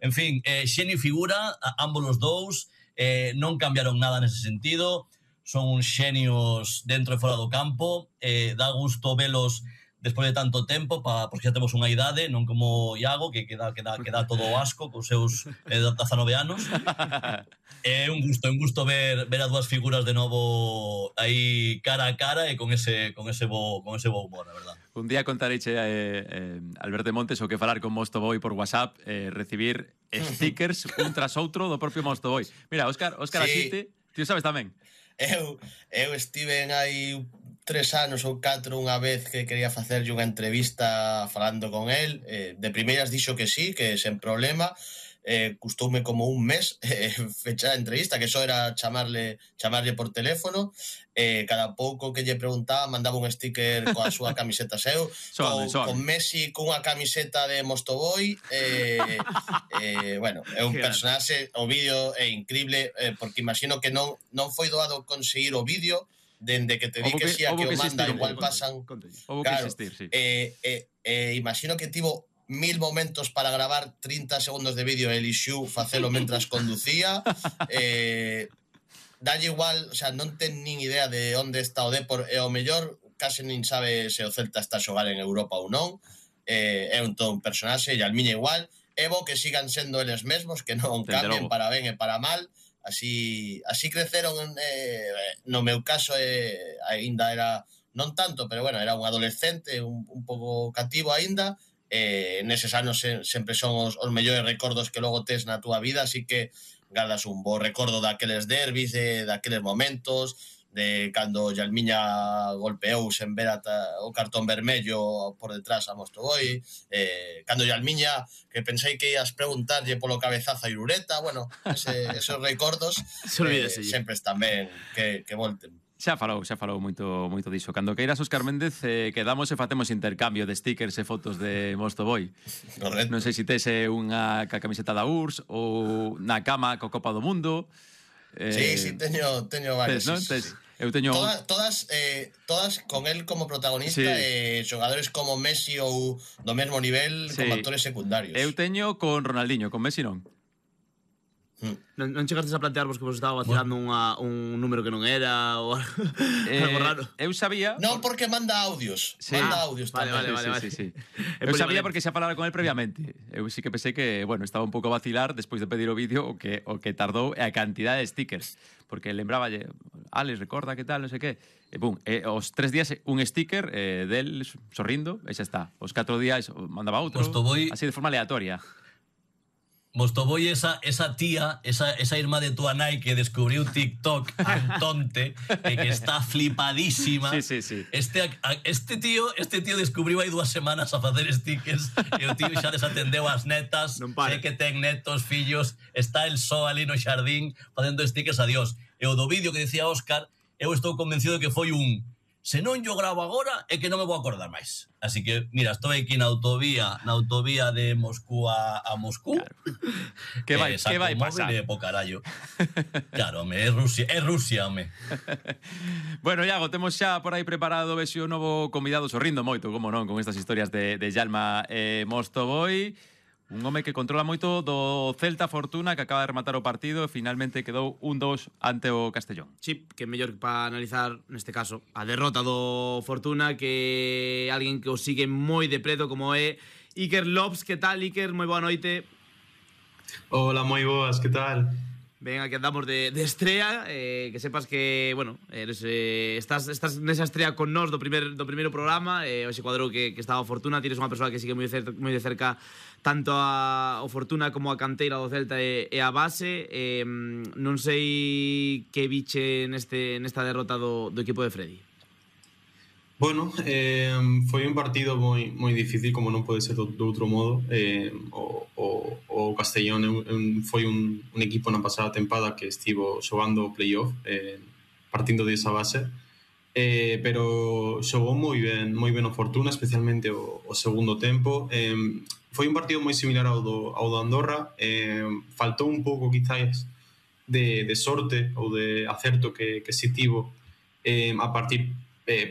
En fin, xenio e figura, ambos os dous, non cambiaron nada nese sentido, son uns xenios dentro e fora do campo, dá gusto velos despois de tanto tempo, porque xa temos unha idade, non como Iago, que dá todo o asco cos seus 19 anos. É un gusto ver as dúas figuras de novo aí cara a cara e con ese bo humor, a verdade. Un día contareiche Alberto Montes o que falar con Mostoboy por WhatsApp, recibir stickers un tras outro do propio Mostoboy. Mira, Óscar Asite, ti sabes tamén. Eu estive aí 3 anos ou 4 unha vez que quería facerlle unha entrevista falando con el, de primeiras dixo que sí, que sen problema, custoume como un mes fechar a entrevista, que só era chamarlle por teléfono, cada pouco que lle preguntaba mandaba un sticker coa súa camiseta seu, con Messi cunha camiseta de Mostoboy, bueno, é un personaxe, o vídeo é increíble, porque imagino que non foi doado conseguir o vídeo, dende que te di que sí a que o manda, igual pasan, claro, imagino que tivo 1000 momentos para gravar 30 segundos de vídeo e elixiu facelo mentras conducía, dalle igual, o sea, non ten nin idea de onde está o Depor, e o mellor case nin sabe se o Celta está a xogar en Europa ou non, é todo un personaxe, e Almiña igual, é bo que sigan sendo eles mesmos, que non cambien para ben e para mal. Así creceron, no meu caso aínda era, non tanto, pero bueno, era un adolescente, un pouco cativo aínda, neses anos sempre son os mellores recordos que logo tes na túa vida, así que gardas un bo recordo daqueles derbis, daqueles momentos, de cando Yalmiña golpeou sen ver o cartón vermello por detrás a Mostoboy, cando Yalmiña, que pensei que ias preguntarlle polo cabezazo a Irureta, bueno, esos recordos sempre están ben que volten. Xa falou moito diso. Cando queiras, Óscar Méndez, quedamos e facemos intercambio de stickers e fotos de Mostoboy. Correcto. Non sei se tes unha camiseta da URSS ou na cama co Copa do Mundo. Sí, teño varios. Eu teño todas con el como protagonista, xogadores como Messi ou do mesmo nivel como actores secundarios. Eu teño con Ronaldinho, con Messi non. Non chegastes a plantearvos que vos estaba vacilando un número que non era ou algo raro? Eu sabía... Non, porque manda audios. Manda audios tamén. Vale. Eu sabía porque xa falara con el previamente. Eu sí que pensei que, bueno, estaba un pouco a vacilar despois de pedir o vídeo o que tardou e a cantidad de stickers. Porque lembraballe, Alex, recorda que tal, non sei que. E pum, os 3 días un sticker del sorrindo e xa está. Os 4 días mandaba outro, así de forma aleatoria. Mostoboy, esa tía, esa irmá de tu nai que descubriu TikTok Antonte, que está flipadísima. Sí. Este tío descubriu hai 2 semanas a facer stickers e o tío xa desatendeu as netas, sei que ten netos, fillos, está el só ali no xardín facendo stickers a Dios. E o do vídeo que decía Óscar, eu estou convencido de que foi un se non yo gravo agora é que non me vou acordar máis. Así que, mira, estou aquí na autovía de Moscú a Moscú. Claro. Que vai pasar? Po carallo. Claro, é Rusia, home. Bueno, Iago, temos xa por aí preparado o novo convidado, sorrindo moito, como non, con estas historias de Yalma Mostoboy. Un home que controla moito do Celta Fortuna, que acaba de rematar o partido e finalmente quedou 1-2 ante o Castellón. Sí, que mellor para analizar, neste caso, a derrota do Fortuna, que alguén que o sigue moi de preto como é Iker Lopes. Que tal, Iker? Moi boa noite. Hola, moi boas, que tal? Ben, aquí andamos de estrea, que sepas que, bueno, estás nesa estrea con nós do primeiro programa, hoxe cuadrou que estaba a Fortuna, tires unha persoa que sigue moi de cerca tanto o Fortuna como a canteira do Celta e a base. Non sei que biche nesta derrota do equipo de Freddy. Bueno, foi un partido moi difícil, como non pode ser do outro modo. O Castellón foi un equipo na pasada tempada que estivo xogando o playoff, partindo desa base, pero xogou moi ben o Fortuna, especialmente o segundo tempo. Foi un partido moi similar ao do Andorra. Faltou un pouco quizás de sorte ou de acerto que si tivo a partir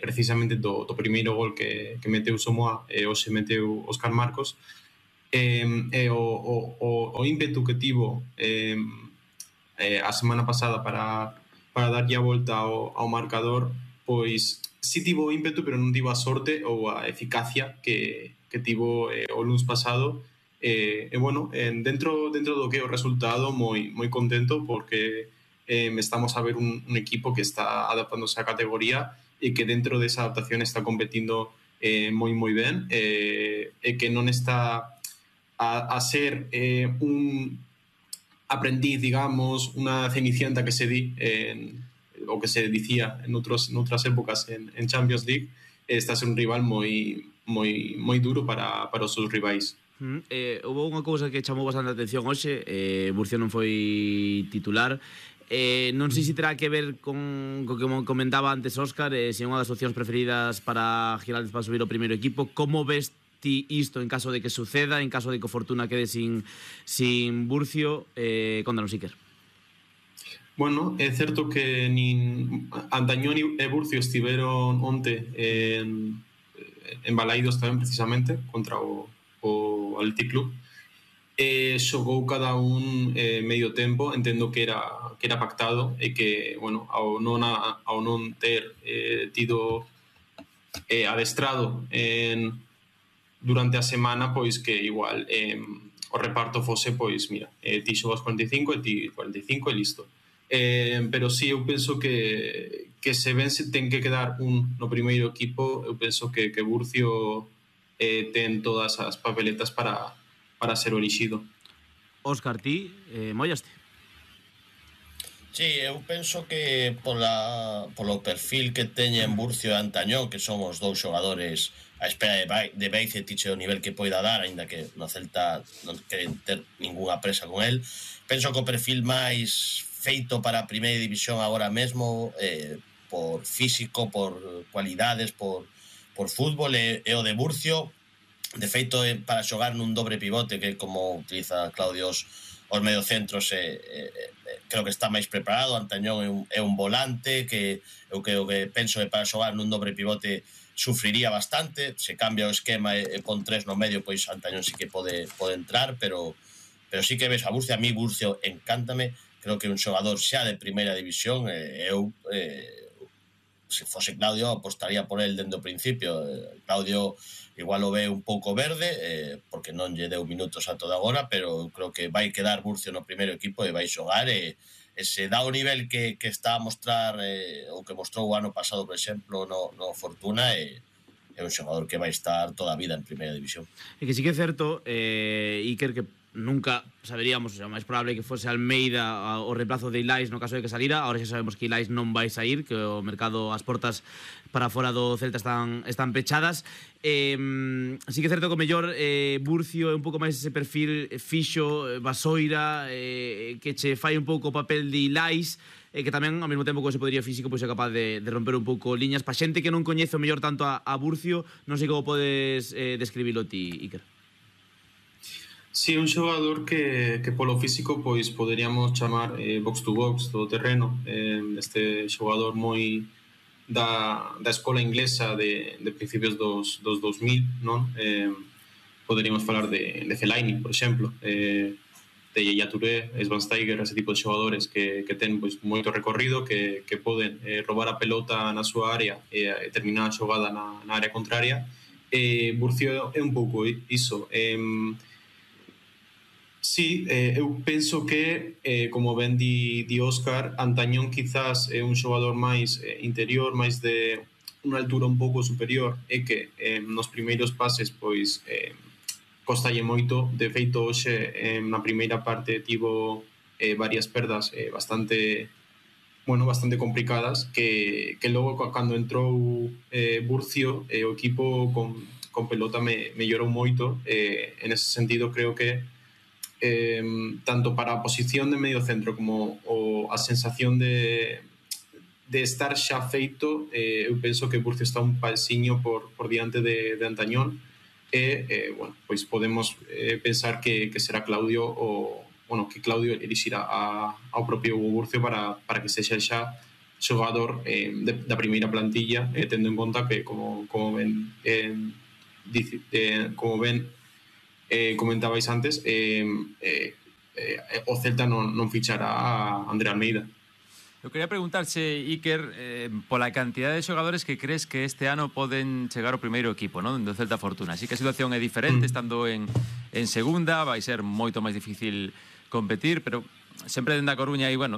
precisamente do primeiro gol que meteu Somoa e hoxe meteu Óscar Marcos, o ímpetu que tivo a semana pasada para darlle a volta ao marcador, pois si tivo o ímpetu, pero non tivo a sorte ou a eficacia que tivo o luns pasado. Bueno, dentro do que é o resultado, moi contento, porque estamos a ver un equipo que está adaptándose á categoría e que dentro desa adaptación está competindo moi ben, e que non está a ser un aprendiz, digamos, una cenicienta que se di o que se dicía en outras épocas en Champions League. Está a ser un rival moi duro para os seus rivais. Houve unha cousa que chamou bastante a atención hoxe. Murcia non foi titular. Non sei se terá que ver con que comentaba antes Óscar, se é unha das opcións preferidas para Giraldez para subir o primeiro equipo. Como ves ti isto en caso de que suceda, en caso de que o Fortuna quede sin Burcio? Contanos, Iker. Bueno, é certo que nin Antañón e Burcio estiveron onte embalaídos tamén precisamente contra o Athletic Club. Xogou cada un medio tempo, entendo que era pactado, e que, bueno, ao non ter tido adestrado durante a semana, pois que igual o reparto fose, pois mira, ti xogas 45 e ti 45 e listo. Pero sí, eu penso que se ben se ten que quedar un no primeiro equipo, eu penso que Burcio ten todas as papeletas para ser elixido. Óscar, ti mollaste? Sí, eu penso que polo perfil que teñen Burcio e Antañón, que son os dous xogadores a espera de Beizetich o nivel que poida dar, aínda que no Celta non queren ter ninguna presa con el, penso que o perfil máis feito para a primeira división agora mesmo, por físico, por cualidades, por fútbol, é o de Burcio. De feito, para xogar nun dobre pivote, que como utiliza Claudio os mediocentros, creo que está máis preparado. Antañón é un volante que eu penso que para xogar nun dobre pivote sufriría bastante. Se cambia o esquema e pon tres no medio, pois Antañón sí que pode entrar, pero sí que ves a Burcio. A mí Burcio encántame, creo que é un xogador xa de primeira división. Eu se fose Claudio apostaría por el dende o principio. Claudio igual o ve un pouco verde, porque non lle deu minutos a toda agora, pero creo que vai quedar Burcio no primeiro equipo e vai xogar, e se dá o nivel que está a mostrar, ou que mostrou o ano pasado, por exemplo, no Fortuna, é un xogador que vai estar toda a vida en primeira división. E que sí que é certo, Iker, que nunca saberíamos, o sea, máis probable que fose Almeida o reemplazo de Ilais no caso de que salira. Ahora xa sabemos que Ilais non vai sair, que o mercado, as portas para fora do Celta están pechadas. Sí que é certo que o mellor Burcio é un pouco máis ese perfil fixo, basoira, que che fai un pouco o papel de Ilais, que tamén ao mesmo tempo que ese podería físico pois é capaz de romper un pouco liñas. Pa xente que non coñece o mellor tanto a Burcio, non sei como podes describilo ti, Iker. Sí, un xogador que polo físico pois poderíamos chamar box to box, todo terreno. Este xogador moi da escola inglesa de principios dos 2000, non? Poderíamos falar de Fellaini, por exemplo, de Yaya Touré, Schweinsteiger, ese tipo de xogadores que ten pois moito recorrido, que poden robar a pelota na súa área e terminar a xogada na área contraria. Burcio é un pouco iso. Sí, eu penso que, como ben di Óscar, Antañón quizás é un xogador máis interior, máis de unha altura un pouco superior, e que nos primeiros pases pois costalle moito. De feito, hoxe na primeira parte tivo varias perdas bastante complicadas, que logo cando entrou Burcio, o equipo con pelota mellorou moito. En ese sentido, creo que tanto para a posición de medio centro como a sensación de estar xa feito, eu penso que Burcio está un pasiño por diante de Antañón, e bueno, pois podemos pensar que será Claudio que Claudio elixirá ao propio Burcio para que sexa xa xogador da primeira plantilla, tendo en conta que como ben comentabais antes, o Celta non fichará a André Almeida. Eu quería preguntarche, Iker, pola cantidad de xogadores que crees que este ano poden chegar ao primeiro equipo, non? Do Celta Fortuna. Así que a situación é diferente, estando en segunda, vai ser moito máis difícil competir, pero sempre dende a Coruña aí, bueno,